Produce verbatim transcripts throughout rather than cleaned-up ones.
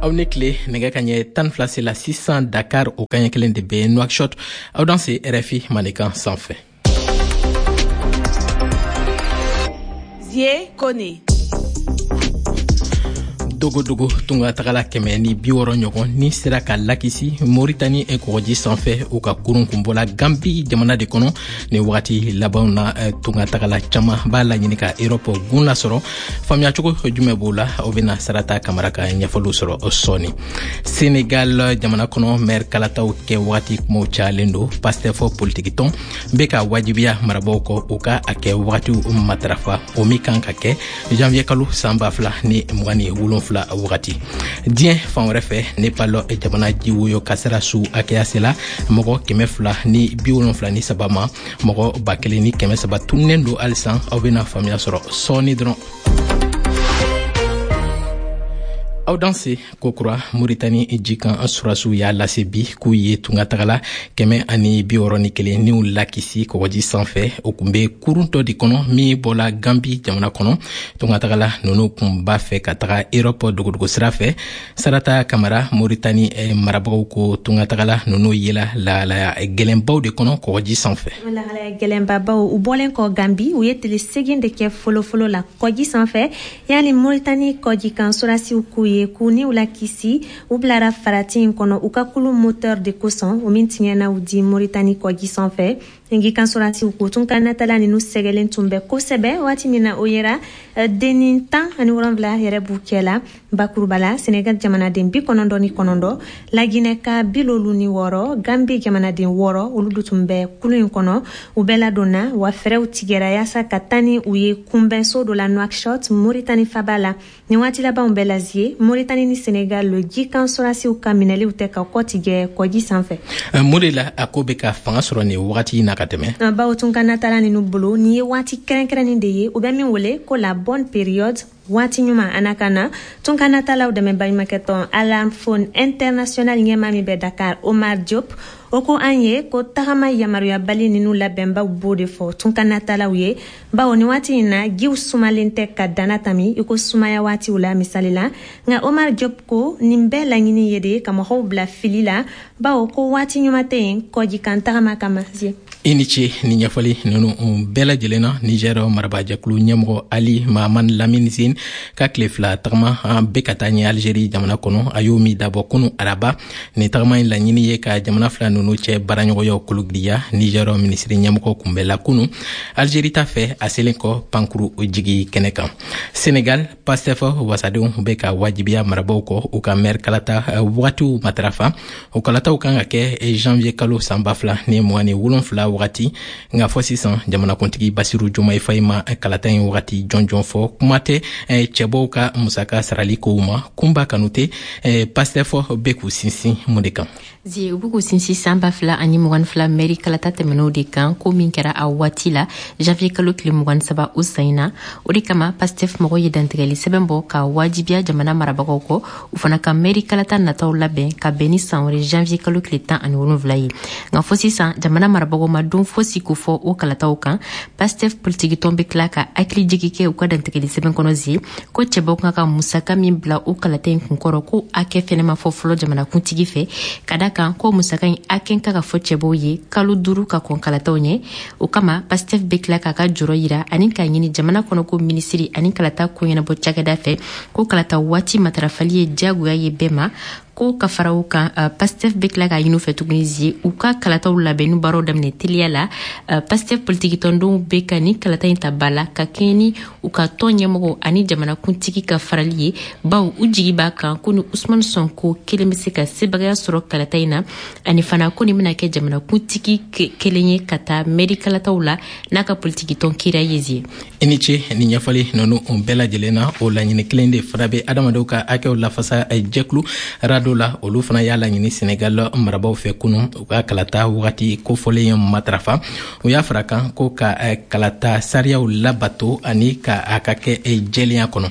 Aw ni tile. Nɛgɛ ka ɲɛ tan fila sela sisan Dakar, o kaɲɛ kelen de bɛ Nouakchott. Aw danse R F I Mandenkan sanfɛ. Zie Kone. Dogodogo tunga tagala kɛmɛ ni bi wɔrɔ ɲɔgɔn ni sera ka lakisi Moritani kɔgɔji sanfɛ, u ka kurun kun bɔla Gambi jamana de kɔnɔ. Ni wagati labanw na, tunga tagala caaman b'a laɲini ka Erɔpɔ gun lasɔrɔ. Faamuya cogo jumɛn b'o la? Aw bena Sarata Kamara ka ɲɛfɔliw sɔrɔ sɔɔni. Senegal jamana kɔnɔ, maire kalataw kɛ wagati kumaw cayalen don. Pastef politikitɔn be ka wajibiya marabaw kɔ, u ka a kɛ wagatiw matarafa, o min kan ka kɛ janvier kalo san ba fila ni mugan ni wolonfila wagati. Diɲɛ fan wɛrɛ fɛ, Nepal jamana jiwoyo kasara su hakɛya sela mɔgɔ kɛmɛ fila ni bi wolonfila ni saba ma, mɔgɔ ba kelen ni kɛmɛ saba tununnen don halisa. Aw bena faamuya sɔrɔ sɔɔni dɔrɔn. Aw danse kokura. Moritani jikan surasiw y'a lase bi k'u ye tungatagala kɛmɛ ani bi wɔrɔ ni kelen niw lakisi kɔgɔji sanfɛ. O kun be kurun dɔ de kɔnɔ min bɔla Gambi jamana kɔnɔ. Tungatagala nunu kun b'a fɛ ka taga Erɔpɔ dogodogo sira fɛ. Sarata Kamara, Moritani eh, marabagaw ko tungatagala nunu yela lahalaya gɛlɛnbaw de kɔnɔ kɔgɔji sanfɛ. Lahalaya gɛlɛnbabaw. U bɔlen kɔ Gambi, u ye tile segin de kɛ folofolo la kɔji sanfɛ yani Moritani kɔjikan surasiw k'u ye k'u niw lakisi. U bilara farati in kɔnɔ u ka kulu moteur de kosɔn, o min tiɲɛna u di Moritani kɔji sanfɛ. Ngi kan surasiw ko tunkanatala ninu sɛgɛlen tun bɛ kosɛbɛ waati min na o yera, dennin tan ani wolonfila yɛrɛ b'u cɛ la. Bakuruba la, Senegal jamanaden bi kɔnɔntɔn ni kɔnɔntɔn, Laginɛka bi loolu ni wɔɔrɔ, Gambi jamanaden wɔɔrɔ, olu du tun bɛ kulu in kɔnɔ. U bɛɛ ladonna wa fɛrɛw tigɛra yaasa ka taa ni u ye kunbɛnso dɔ la Nouakchott, Moritani faba la. Nin waati labanw bɛɛ lazie, Moritani ni Senegal jikan sɔrasiw ka minɛliw tɛ ka kɔ tigɛ kɔji sanfɛ. Mun de la a ko bɛ ka fanga sɔrɔ nin wagati in na ka tɛmɛ? Bawo tunkanatala ninu bolo, nin ye waati kɛrɛnkɛrɛnnin de ye, u bɛ min wele ko la bonne période, waati ɲuman. Ana ka na tunkanatalaw dɛmɛ baɲumakɛtɔn Alarm Phone International ɲɛma min bɛ Dakar, Omar Diop, o ko an ye ko tagama yamaruyabali ninu labɛnbaw b'o de fɔ tunkanatalaw ye, bawo ni waati in na, jiw sumalen tɛ ka dana tami i ko sumaya waatiw la misali la. Nka Omar Diop ko nin bɛɛ laɲini ye de ka mɔgɔw bila fili la, bawo ko waati ɲuman tɛ yen kɔjikan tagama kama. I ni ce ni ɲɛfɔli nunu bɛɛ lajɛlen na. Niger marabajɛkulu ɲɛmɔgɔ Ali Mahaman Lamine Zeine ka tile fila tagama bɛ ka taa ɲɛ Algérie jamana kɔnɔ, a y'o min dabɔ kunu araba. Nin tagama in laɲini ye ka jamana fila nunu cɛ baaraɲɔgɔnyaw kologiriya. Niger minisiri ɲɛmɔgɔ kunbɛla kunu Algérie ta fɛ, a selen kɔ pankuru jigi kɛnɛ kan. Senegal, Pastef wasadenw bɛ ka wajibiya marabaw kɔ, u ka maire kalata wagatiw matarafa. O kalataw kan ka kɛ janvier kalo san ba fila ni mugan ni wolonfila wagati, nka fɔ sisan jamanakuntigi Basiru Jomayi Fayi ma kalata in wagati jɔnjɔn fɔ. Kuma tɛ cɛbɔw ka musaka sarali kow ma. Kunba Kanute, Pastef bɛ k'u sinsin mun de kan? Zie, u b'u k'u sinsin san ba fila ani mugan fila mɛri kalata tɛmɛnɛw de kan, ko min kɛra a waati la janvier kalo tile mugan saba o san in na. O de kama Pastef mɔgɔw ye dantigɛli sɛbɛn bɔ ka wajibiya jamana marabagaw kɔ, u fana ka mɛri kalata nataw labɛn ka bɛn ni san wɛrɛ janvier kalo tile tan ani wolonfila ye. Nka fɔ sisan, jamana marabagaw ma don fosi ko fɔ o kalataw kan. Pastef politikitɔn bɛ tila ka hakili jigi kɛ u ka dantigɛli sɛbɛn kɔnɔ zie ko cɛbaw kan ka musaka min bila o kalata in kunkɔrɔ, ko hakɛ fɛnɛ ma fɔ fɔlɔ jamanakuntigi fɛ, ka da kan ko musaka in hakɛ ka ka fɔ cɛbaw ye kalo duuru ka kɔn kalataw ɲɛ. O kama Pastef bɛ tila k'a ka jɔrɔ yira ani k'a ɲini jamana kɔnɔ ko minisiri ani kalata ko ɲɛnabɔ cakɛda fɛ ko kalata waati matarafali ye diyagoya ye bɛɛ ma. Ko ka fara o kan, uh, Pastef bɛ tila k'a ɲini u fɛ tuguni zie, u ka kalataw labɛnni baaraw daminɛ teliya la. uh, pastef politikitɔndenw bɛ ka ni kalata in ta ba la ka kɛɲɛ ni u ka tɔn ɲɛmɔgɔ ani jamanakuntigi ka farali ye, baw u jigi b'a kan ko ni Usman Sonko kelen bɛ se ka sebagaya sɔrɔ kalata in na, ani fana ko nin bɛna kɛ jamanakuntigi kelen ye ka taa mɛri kalataw la n'a ka politikitɔn kira ye zie. I ni ce ni ɲɛfɔli nunu bɛɛ lajɛlen na. O laɲini kelen de fana bɛ adamadenw ka hakɛw lafasa jɛkulu RADDHO. Ado la, olu fana y'a laɲini Senegal marabaw fɛ kunun u ka kalata wagati kofɔlen matarafa. U y'a fara kan ko ka kalata sariyaw labato ani ka a ka kɛ jɛlenya kɔnɔ.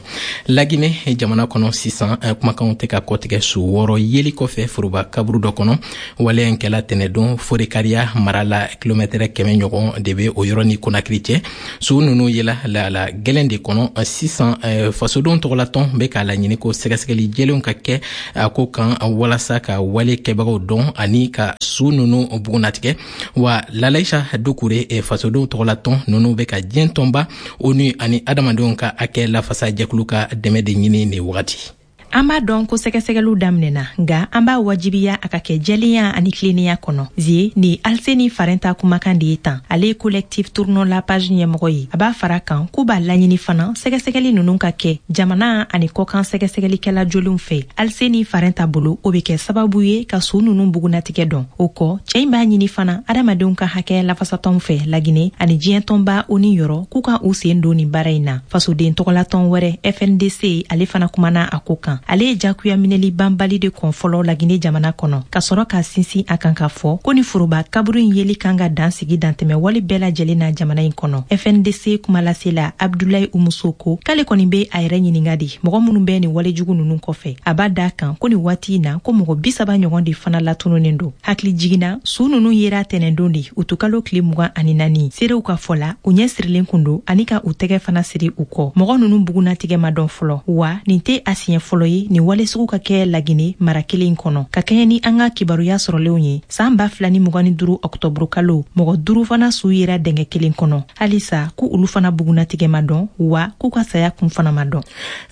Lagine jamana kɔnɔ sisan, kumakanw tɛ ka kɔtigɛ su wɔɔrɔ yeli kɔfɛ foroba kaburu dɔ kɔnɔ. Waleya in kɛla tɛnɛdon Forekariya mara la, kilomɛtɛrɛ kɛmɛ ɲɔgɔn de bɛ o yɔrɔ ni Konakiri cɛ. Su ninnu yela lahala gɛlɛn de kɔnɔ. Sisan fasodenw tɔgɔlatɔn bɛ k'a laɲini ko sɛgɛsɛgɛli jɛlenw ka kɛ a ko kan walasa ka wale kɛbagaw dɔn ani ka su ninnu bugunnatigɛ. Wa Lalaisa Dukure, fasodenw tɔgɔlatɔn ninnu bɛ ka diɲɛ tɔnba ONU ani adamadenw ka hakɛ lafasa jɛkulu ka dɛmɛ de ɲini nin wagati. An b'a dɔn ko sɛgɛsɛgɛliw daminɛna, nka an b'a wajibiya a ka kɛ jɛlenya ani tilennenya kɔnɔ. Zie ni Alseni Farenta kumakan de ye tan. Ale ye Collectif Tournons la page ɲɛmɔgɔ ye. A b'a fara kan k'u b'a laɲini fana sɛgɛsɛgɛli ninnu ka kɛ jamana ani kɔkan sɛgɛsɛgɛlikɛla jolenw fɛ. Alseni Farenta bolo, o bɛ kɛ sababu ye ka su ninnu bugunatigɛ dɔn. O kɔ, cɛɛ in b'a ɲini fana adamadenw ka hakɛ lafasatɔnw fɛ Lagine ani diɲɛ tɔnba ONU yɔrɔ k'u ka u sen don nin baara in na. Fasoden tɔgɔlatɔn wɛrɛ F N D C, ale fana kumana a ko kan. Ale ye jagoya minɛli banbali de kɔn fɔlɔ Lagine jamana kɔnɔ, ka sɔrɔ ka sinsin a kan k'a fɔ ko ni foroba kaburu in yeli kan ka dan sigi dantɛmɛ wale bɛɛ lajɛlen na jamana in kɔnɔ. F N D C kumalasela Abdulayi Umuso ko k'ale kɔni be a yɛrɛ ɲininga de mɔgɔ minnu bɛ nin walejugu ninnu kɔfɛ. A b'a da kan ko nin waati in na, ko mɔgɔ bi saba ɲɔgɔn de fana latununen don. Hakili jiginna, suu ninnu yera tɛnɛndon de, utukalo tile mugan ani naani. Seerew ka fɔ la, u ɲɛ sirilen kun don ani ka u tɛgɛ fana siri u kɔ. Mɔgɔ ninnu bugunatigɛ ma dɔn fɔlɔ. Wa nin tɛ a siɲɛ fɔlɔ ye nin wale sugu ka kɛ Lagine mara kelen kɔnɔ. Ka kɛɲɛ ni an ka kibaruya sɔrɔlenw ye, saan ba fila ni mugan ni duru ɔktɔburu kalo, mɔgɔ duuru fana suu yera dɛngɛ kelen kɔnɔ. Halisa ko olu fana bugunatigɛ ma dɔn, wa k'u ka saya kun fana ma dɔn.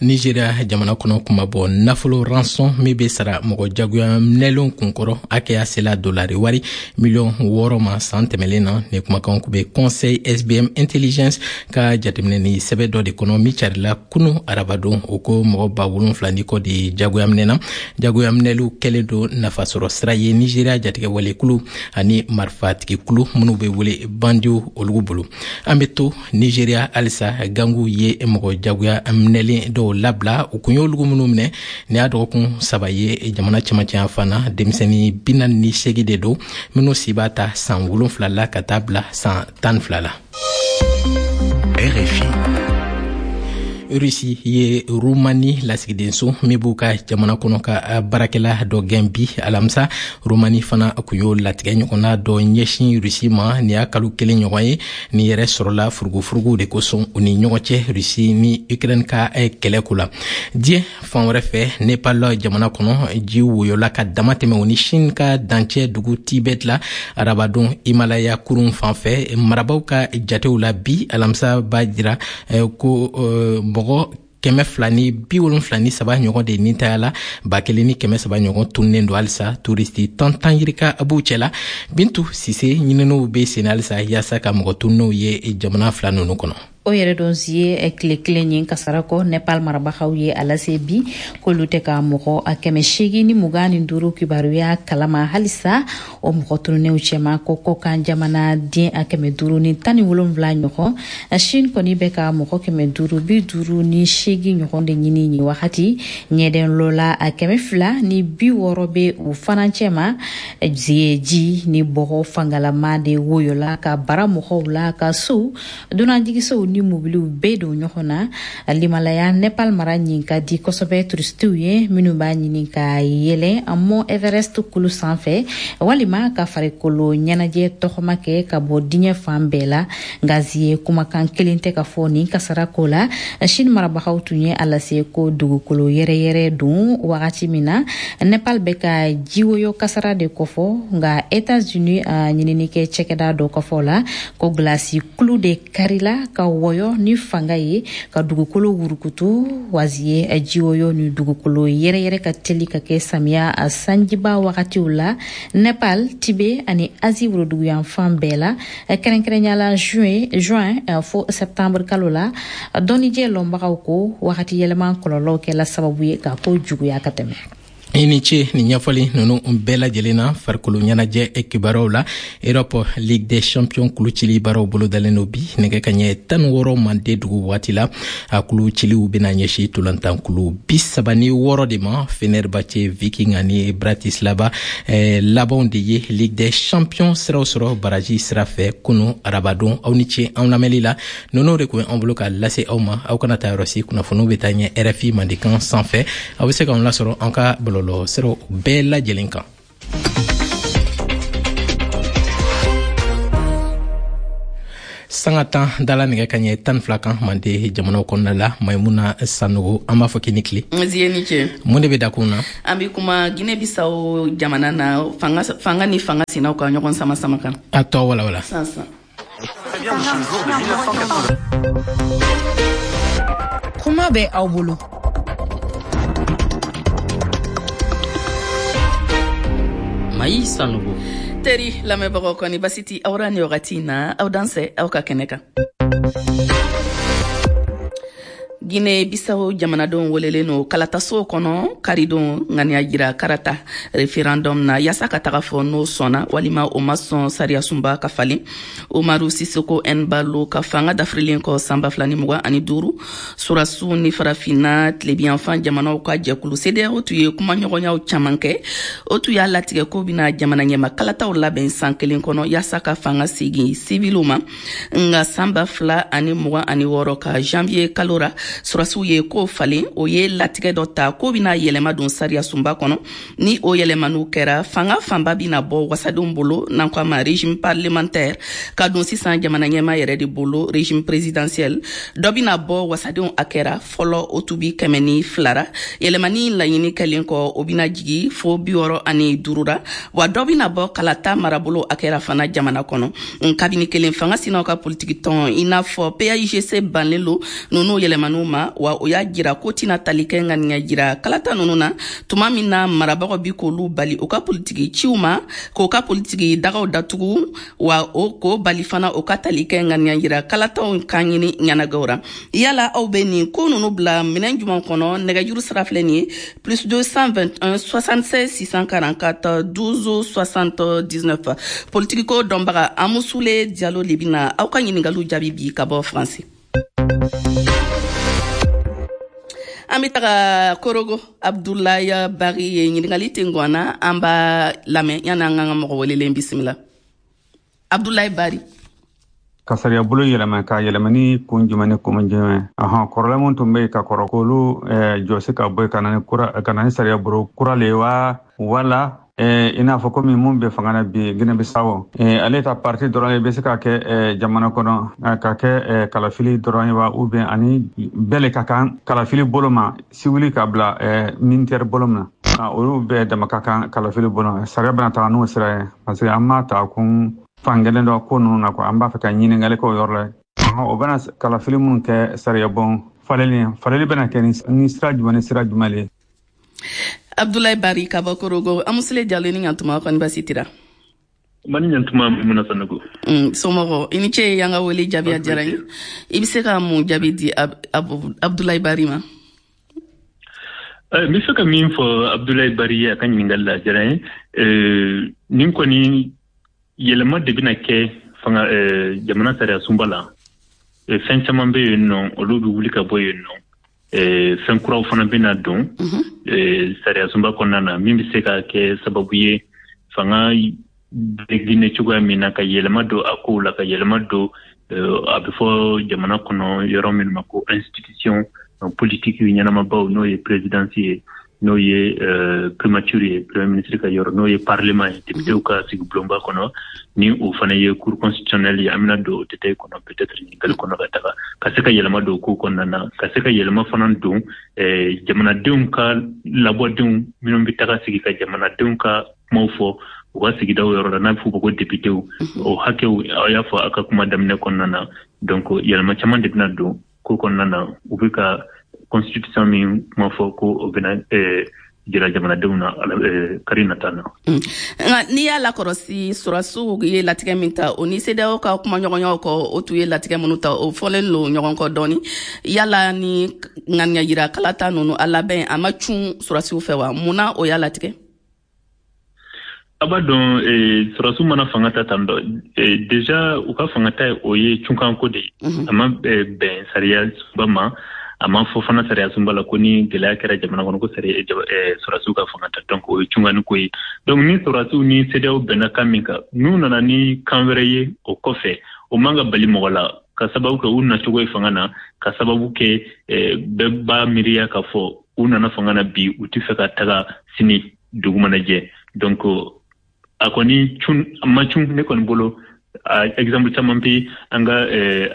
Nigeria jamana kɔnɔ, kumabɔ nafolo rançon min be sara mɔgɔ jagoya minɛlenw kunkɔrɔ, hakɛya sela dolari wari miliyɔn wɔɔrɔ ma san tɛmɛlen na. Ni kumakanw kun be Conseil S B M Intelligence ka jateminɛ ni sɛbɛ dɔ de kɔnɔ min carila kunu arabadon. O ko mɔgɔ ba wolonfila ni kɔ de jagoya minɛna. Jagoya minɛliw kɛlen don nafasɔrɔ sira ye Nigeria jatigɛwalekulu ani marifatigikulu minnu be wele bandiw olugu bolo. An be to Nigeria halisa. Gangu ye mɔgɔ jagoya minɛlen dɔw labila, u kun y'olugu minnu minɛ nin y'a dɔgɔkun saba ye jamana cɛmancɛya fan na. Denmisɛnnin bi naani ni seegin de don minnu si b'a ta san wolonfila la ka taa bila san tan ni fila la. R F I. Rusi ye Rumani lasigidenso min b'u ka jamana kɔnɔ ka baarakɛla dɔ gɛn bi alamisa. Rumani fana kun y'o latigɛ ɲɔgɔnna dɔ ɲɛsin Rusi ma nin y'a kalo kelen ɲɔgɔn ye. Nin yɛrɛ sɔrɔla furugufuruguw de kosɔn u ni ɲɔgɔn cɛ, Rusi ni Ukraine ka kɛlɛ ko la. Diɲɛ fan wɛrɛ fɛ, Nepal jamana kɔnɔ, ji woyola ka dama tɛmɛ o ni Chine ka dancɛ dugu Tibet la arabadon Himalaya kurun fan fɛ. Marabaw ka jatew la bi alamisa b'a jira ko mɔgɔ kɛmɛ fila ni bi wolonfila ni saba ɲɔgɔn de nintaya la, ba kelen ni kɛmɛ saba ɲɔgɔn tununnen don halisa. Turisti tan tan yirika b'u cɛla. Bintu Sise, ɲininiw be sen halisa yaasa ka mɔgɔ tununnenw ye jamana fila nunu kɔnɔ. O yɛrɛ dɔn si ye tile kelen ye kasara kɔ. Nepal marabagaw ye a lase bi k'olu tɛ ka mɔgɔ a kɛmɛ seegin ni mugan ni duuru kibaruya kalama halisa o mɔgɔ tununnenw cɛma, ko kɔkan jamana den a kɛmɛ duuru ni tan ni wolonwula ɲɔgɔn. Chine kɔni bɛ ka mɔgɔ kɛmɛ duuru bi duuru ni seegin ɲɔgɔn de ɲini nin wagati. Ɲɛdɛn lɔla a kɛmɛ fila ni bi wɔɔrɔ bɛ u fana cɛma. Ji ni bɔgɔ fangalama de woyola ka bara mɔgɔw la, ka sow, dunanjigisow ni mobiliw bɛɛ don ɲɔgɔn na. Limalaya Nepal mara ɲin ka di kosɛbɛ turistiw ye minnu b'a ɲini ka yɛlɛn Mont Everest kulu sanfɛ walima ka farikolo ɲɛnajɛ tɔgɔma kɛ ka bɔ diɲɛ fan bɛɛ la. Nka ye kumakan kelen tɛ ka fɔ nin kasara ko la. Chine marabagaw tun ye a lase ko dugukolo yɛrɛyɛrɛ don wagati min na, Nepal bɛ ka jiwoyo kasara de kɔfɔ. Nka Etats-Unis ɲininikɛ cɛkɛda dɔ kɔfɔ la ko gilasi kulu de karila ka wɔyɔ ni fanga ye ka dugukolo wurukutu. Wazi ye jiwoyo ni dugukolo yɛrɛyɛrɛ ka teli ka kɛ samiya sanjiba wagatiw la Nepal, Tibet ani Asie woroduguyanfan bɛɛ la, kɛrɛnkɛrɛnya la juin juin fo septembre kalo la. Dɔnnijɛ lɔnbagaw ko wagati yɛlɛma kɔlɔlɔw kɛla sababu ye ka ko juguya ka tɛmɛ. I ni ce ni ɲɛfɔli ninnu bɛɛ lajɛlen na. Farikolo ɲɛnajɛ kibaruyaw la, Europe Ligue des Champions kulucili baaraw bolodalen do bi nɛgɛ ka ɲɛ tan ni wɔɔrɔ mande dugu waati la. A kuluciliw bena ɲɛsi tolantankulu bi saba ni wɔɔrɔ de ma. Fenerbahce, Viking ani Bratislava eh, labanw de ye Ligue des Champions siraw sɔrɔ baraji sira fɛ kunu arabadon. Aw ni ce anw lamɛnli la. Ninnu de kun ye anw bolo ka lase aw ma. Aw kana taa yɔrɔ si, kunnafoniw bɛ taa ɲɛ R F I mandekan sanfɛ. Aw bɛ se k'anw lasɔrɔ an ka bɔlɔlɔ siraw bɛɛ lajɛlen kan. Sanga tan dala nɛgɛ ka ɲɛ tan ni fila kan mande jamanaw kɔnɔna la. Maimuna Sanogo, an b'a fɔ k'i ni tile. Zie ni ce. Mun de bɛ dakun na? An bɛ kuma Guinée Bissau jamana na, fanga fanga ni fanga sinaw ka ɲɔgɔn sama sama kan. A tɔ wala wala. San san. Kuma bɛ aw bolo. Mayi Sanogo. Teri lamɛnbagaw, kɔni basi ti aw ra ni wagati na? Aw dansɛ aw ka kɛnɛ kan. Guinée Bissau jamanadenw welelen no kalataso kɔnɔ karidon ŋaniya jira karata référendum na, yaasa ka taga fɔ n'o sɔnna walima o ma sɔn sariyasunba ka falen. Umaru Sisoko Embalo ka fanga dafirilen kɔ san ba fila ni mugan ani duuru, surasiw ni Farafinna tilebiyanfan jamanaw ka jɛkulu CEDEAO tun ye kumaɲɔgɔnyaw caman kɛ. O tun y'a latigɛ ko bɛna jamana ɲɛma kalataw labɛn san kelen kɔnɔ, yaasa ka fanga segin siviliw ma. Nga san ba fila ani mugan ani wɔɔrɔ ka janvier kalo ra, surasiw ye ko falen. O ye latigɛ dɔ ta ko bɛna yɛlɛma don sariya sunba kɔnɔ. Ni o yɛlɛmaniw kɛra, fanga fanba bɛna bɔ wasadenw bolo, n'an ko a ma régime parlementaire, ka don sisan jamana ɲɛma yɛrɛ de bolo, régime présidentiel. Dɔ bɛna bɔ wasadenw a kɛra fɔlɔ, o tun bi kɛmɛ ni fila ra. Yɛlɛmani laɲini kɛlen kɔ, o bɛna jigi fo bi wɔɔrɔ ani duuru ra. Wa dɔ bɛna bɔ kalata marabolo a kɛra fana jamana kɔnɔ. Kabini kelen, fanga sinaw ka politiki tɔn i n'a fɔ P A I G C banlen lo ninnu yɛlɛmaniw ma. Wa o y'a jira ko tɛna tali kɛ ŋaniya jira kalata ninnu na, tuma min na marabagaw bi k'olu bali u ka politiki ciw ma, k'o ka politiki dagaw datugu, wa o k'o bali fana o ka tali kɛ ŋaniya jira kalataw kan ɲini ɲɛnagɛw ra. Yala aw bɛ nin ko ninnu bila minɛn juman kɔnɔ? Nɛgɛjuru sira filɛ nin ye: plus deux cent vingt et un soixante-seize six cent quarante-quatre douze soixante-dix-neuf. Politiki ko dɔnbaga Amusule Jalo de bɛna aw ka ɲiningaliw jaabi bi ka bɔ Faransi. An bɛ taga Korogo. Abdulayi Bari ye ɲininkali ten na, an b'a lamɛn yanni an k'an ka mɔgɔ welelen bisimila. Abdulayi Bari. Ka sariya bolo yɛlɛma ka yɛlɛma ni kun jumɛn ni kun jumɛn? Ahan, kɔrɔlen mun tun bɛ yen ka kɔrɔ, k'olu jɔsi ka bɔ yen ka na ni kura, ka na ni sariya bolo kura le wa? Wala i n'a fɔ komi mun bɛ fanga na bi Guinée Bissau, ale ta parti dɔrɔn bɛ se ka kɛ jamana kɔnɔ ka kɛ kalafili dɔrɔn ye wa, ou bien ani bɛɛ le ka kan kalafili bolo ma, siwili ka bila militaire bolo ma? Olu bɛɛ dama ka kan kalafili bolo ma. Sariya bɛna taga n'o sira ye, parce que an m'a ta kun fankelen dɔ ko ninnu na quoi. An b'a fɛ ka ɲininkali kɛ o yɔrɔ la. O bɛna kalafili minnu kɛ, sariya bɔn faleli faleli bɛna kɛ ni sira jumɛn ni sira jumɛn le? Abdoulaye Bari ka bɔ Korogo. Amusule Jalo, ni ɲantuma, kɔni basi tira? Mani ɲantuma, Maimuna Sanogo. Mm, somɔgɔ, i ni ce y'an ka wele jaabi, a diyara n ye. I bɛ se ka mun jaabi di Ab Abdoulaye Bari ma? N bɛ fɛ ka min fɔ Abdoulaye Bari ye a ka ɲininkali la, a diyara n ye. Nin kɔni yɛlɛma de bɛna kɛ fanga jamana sariya sunba la. Fɛn caman bɛ yen nɔ, olu bɛ wuli ka bɔ yen nɔ. Fɛn kuraw fana bɛna don sariya sunba kɔnɔna na, min bɛ se ka kɛ sababu ye fanga bɛ Guinée cogoya min na, ka yɛlɛma don a kow la, ka yɛlɛma don a bɛ fɔ jamana kɔnɔ yɔrɔ min ma ko institution politique ɲɛnamabaw, n'o ye présidence ye, n'o ye primature ye, premier ministre ka yɔrɔ, n'o ye parlement ye, députéw ka sigi bulonba kɔnɔ, ni o fana ye cour constitutionnelle ye. An bɛna don o détail kɔnɔ peut-être ɲininkali kɔnɔ ka taga, ka se ka yɛlɛma don ko kɔnɔna na, ka se ka yɛlɛma fana don jamanadenw ka labɔdenw minnu bɛ taga sigi ka jamanadenw ka kumaw fɔ u ka sigidaw yɔrɔ la, n'a bɛ f'o ma ko députéw, o hakɛw. Aw y'a fɔ a ka kuma daminɛ kɔnɔna na. Donc yɛlɛma caman de bɛna don ko kɔnɔna na. U bɛ ka constitution min kuma fɔ ko o bɛna jira jamanadenw na kari nata na. Nka n'i y'a lakɔlɔsi, sɔrɔdasiw ye latigɛ min ta, o ni CEDEAO ka kumaɲɔgɔnyaw kɔ, o tun ye latigɛ minnu ta, o fɔlen don ɲɔgɔn kɔ dɔɔni. Yala ni ŋaniya yira kalata ninnu a labɛn, a ma cun sɔrɔdasiw fɛ wa? Mun na o y'a latigɛ? A b'a dɔn, sɔrɔdasiw mana fanga ta tan dɔ, déjà u ka fanga ta o ye cunkanko de ye. A ma bɛn sariya sunba ma, a ma fɔ fana sariya sunba la ko ni gɛlɛya kɛra jamana kɔnɔ ko sariya sɔrɔdasiw ka fanga ta. Donc o ye cunkanni ko ye. Donc ni sɔrɔdasiw ni CEDEAO bɛnna kan min kan, n'u nana ni kan wɛrɛ ye o kɔfɛ, o man ka bali mɔgɔ la, ka sababu kɛ u nacogo ye fanga na, ka sababu kɛ bɛɛ b'a miiriya k'a fɔ u nana fanga na bi, u tɛ fɛ ka taga sini dugu mana jɛ. Donc a kɔni cun, a ma cun ne kɔni bolo. Exemple caman bɛ an ka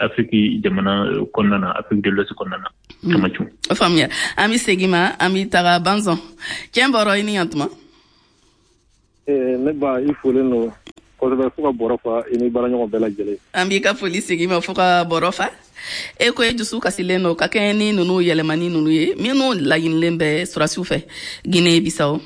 Afiriki jamana kɔnɔna na, Afrique de l'Ouest kɔnɔna na, caman cun. O faamuya. An bɛ segin ma, an bɛ taga Banzɔn cɛn bɔrɔ i ni yantuma. Ne ba, i folen don kosɛbɛ fo ka bɔrɔ fa, i ni baaraɲɔgɔn bɛɛ lajɛlen. An b'i ka foli segin ma fo ka bɔrɔ fa. E ko e dusu kasilen don ka kɛɲɛ ni ninnu yɛlɛmani ninnu ye minnu laɲinilen bɛ sɔrɔdasiw fɛ Guinée Bissau.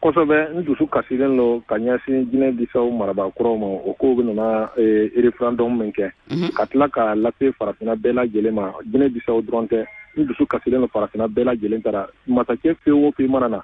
Kosɛbɛ, n dusu kasilen don ka ɲɛsin Guinée Bissau marabaa kuraw ma. O kow bɛ nana référendum min kɛ ka tila k'a lase farafinna bɛɛ lajɛlen ma, Guinée Bissau dɔrɔn tɛ, n dusu kasilen don farafinna bɛɛ lajɛlen taara. Masakɛ fɛn o fɛn mana na,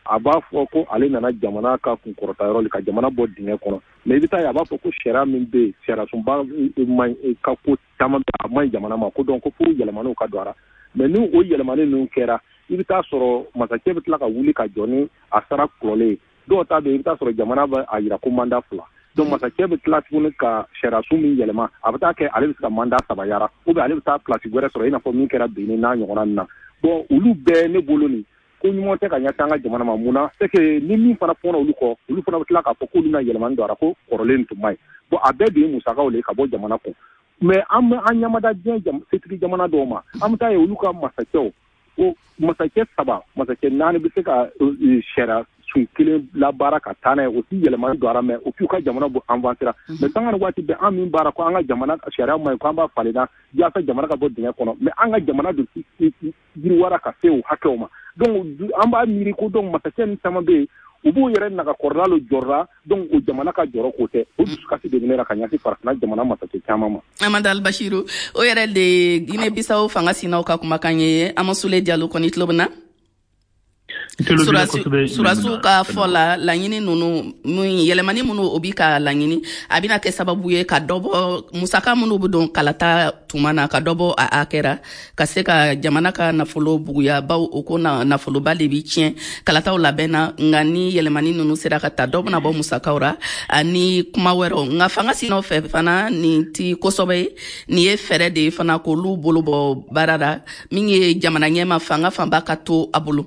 a b'a fɔ ko ale nana jamana ka kunkɔrɔta yɔrɔ ka jamana bɔ dingɛ kɔnɔ, mais i bɛ taa ye a b'a fɔ ko sariya min bɛ yen, sariyasunba man ka ko caman bɛ a man ɲi jamana ma, ko donc ko fo yɛlɛmaniw ka don a la. Mais ni o yɛlɛmani ninnu kɛra, i bɛ taa sɔrɔ masakɛ bɛ tila ka wuli ka jɔ ni a sara kɔrɔlen ye. Dɔw ta bɛ yen, i bɛ taa sɔrɔ jamana bɛ a yira ko mandat fila. Donc masakɛ bɛ tila tuguni ka sariyasun min yɛlɛma, a bɛ taa kɛ ale bɛ se ka mandat saba yara, ou bien ale bɛ taa place wɛrɛ sɔrɔ, i n'a fɔ min kɛra Benin n'a ɲɔgɔnna ninnu na. Bon, olu bɛɛ ne bolo nin ko ɲuman tɛ ka ɲɛsin an ka jamana ma. Mun na? C'est que ni min fana fɔra olu kɔ, olu fana bɛ tila k'a fɔ k'olu na yɛlɛmani don a la, ko kɔrɔlen tun man ɲi. Bon, a bɛɛ de ye musakaw de ye ka bɔ jamana kɔnɔ. Mais an bɛ an ɲamada diɲɛ setigi jamana dɔw ma, an bɛ taa ye olu ka masakɛw, o masakɛ saba, masakɛ naani bɛ se ka sariya sun kelen labaara ka taa n'a ye, o ti yɛlɛmani don a la, mais o k'u ka jamana bɔ avancera. Mais sanga ni waati bɛɛ an min baara ko an ka jamana sariya man ɲi, ko an b'a falen na yaasa jamana ka bɔ dingɛ kɔnɔ, mais an ka jamana dun yiriwara ka se o hakɛw ma. Donc an b'a miiri ko donc masakɛ ni caman bɛ yen, u b'u yɛrɛ nagakɔrɔla lo jɔrɔla, donc o jamana ka jɔrɔ k'o tɛ. O dusukasi de bɛ ne la ka ɲɛsin farafinna jamana masakɛ caman ma. Amadu Albashiru, o yɛrɛ de Guinée Bissau fanga sinaw ka kumakan ye. Amasule Diallo kɔni tulo bɛ na. Surasiw ka fɔ la, laɲini ninnu yɛlɛmani minnu o bi ka laɲini, a bɛna kɛ sababu ye ka dɔ bɔ musaka minnu bɛ don kalata tuma na, ka dɔ bɔ a hakɛ ka se ka jamana ka nafolo buguya, baw o ko nafoloba de bi tiɲɛ kalataw labɛn na. Nka ni yɛlɛmani ninnu sera ka ta, dɔ bɛna bɔ musakaw ra ani kuma wɛrɛw. Nka fanga sinaw fɛ fana, nin ti kosɛbɛ ye, nin ye fɛɛrɛ de ye fana k'olu bolo bɔ baara la, min ye jamana ɲɛma fanga fanba ka to a bolo.